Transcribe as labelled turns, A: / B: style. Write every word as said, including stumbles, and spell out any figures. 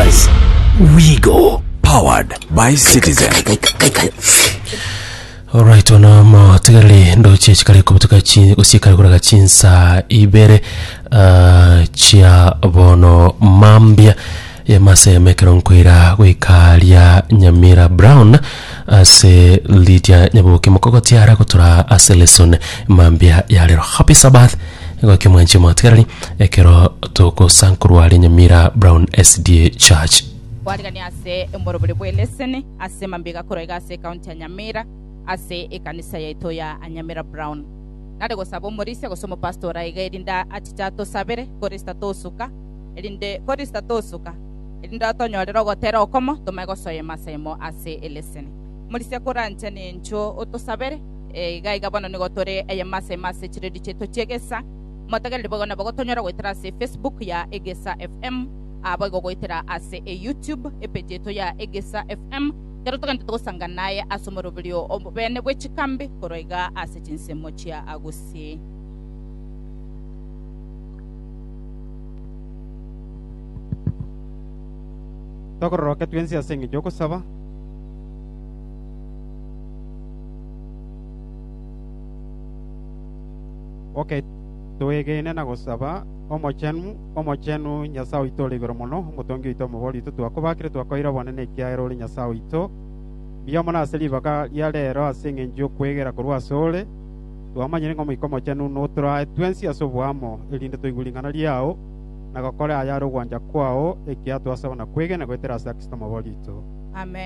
A: Buzz. We go.
B: Powered by Citizen.
C: Alright, ono motegereri ndoche chikare kobutuka chi gosiekare koraga chinsa ibere uh, chia bono mambia yemaseme ekero nkoira goika ria Nyamira Brown ase Lydia Nyaboke mokogotiara gotura ase lesson mambia ya rero. Happy Sabbath egokia mwanche motegereri ekero togosankorwa ria Nyamira Brown S D A Church.
D: Kwarigania ase emorobori bwa eleseni ase mambia gakorwa iga ase ekaunti ya Nyamira ase ekanisa yaito ya Nyamira Brown. Nare gosaba omorisia gose omopastor iga erinde achiche atosabere korista tosuka erinde korista tosuka erinde atonyorere ogotera okomo tomae gosoa emasemo ase eleseni. Omorisia koranche nincho otosabere eh, iga iga bono nigo tore eyemasemo ase chiredi chiaito chiegesa motegereri bogo nabo gotonyora goetera ase Facebook ya Egesa F M abo igo goetera ase e YouTube epage yetu ya Egesa F M kero togende togosanga naye ase omoroberio obene bwe chikambi korwa iga ase chinsemo chia Agusii.
E: Tokororoke twensi ase eng'encho ogosaba. Okay, twegene na gosaba. Omochenu, omochenu, Nyasae oito ore igoro mono, omotongi oito, omobori oito, twakobakire, twakoira obonene ekiagera ore Nyasae oito. Mbuya mono ase ribaga ria rero ase eng'encho yokwegera korwa ase ore. Twamanyire ng'a omoika omochenu notorae twensi ase oboamo erinde toigwe ring'ana riao na gokora ayare ogwancha kwao ekiagera twasaba na kwegena goetera ase Kristo omobori oito.
D: Amen.